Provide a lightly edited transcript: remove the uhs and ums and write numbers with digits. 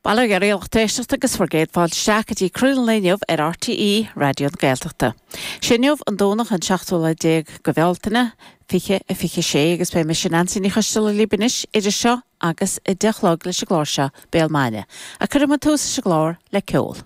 Bail ó Dhia oraibh a lucht éisteachta agus bhur gcéad fáilte isteach go dtí Craoladh an Lae inniu ar RTÉ Raidió na Gaeltachta. Sé inniu an Domhnach an seachtú lá déag de Bhealtaine, 2026 agus beidh mise Neansaí Ní Choisdealbha libh anois idir seo agus 10 a chlog leis an gclár seo, Béal Maidine. Ach cuirfidh muid tús leis an gclár le ceol.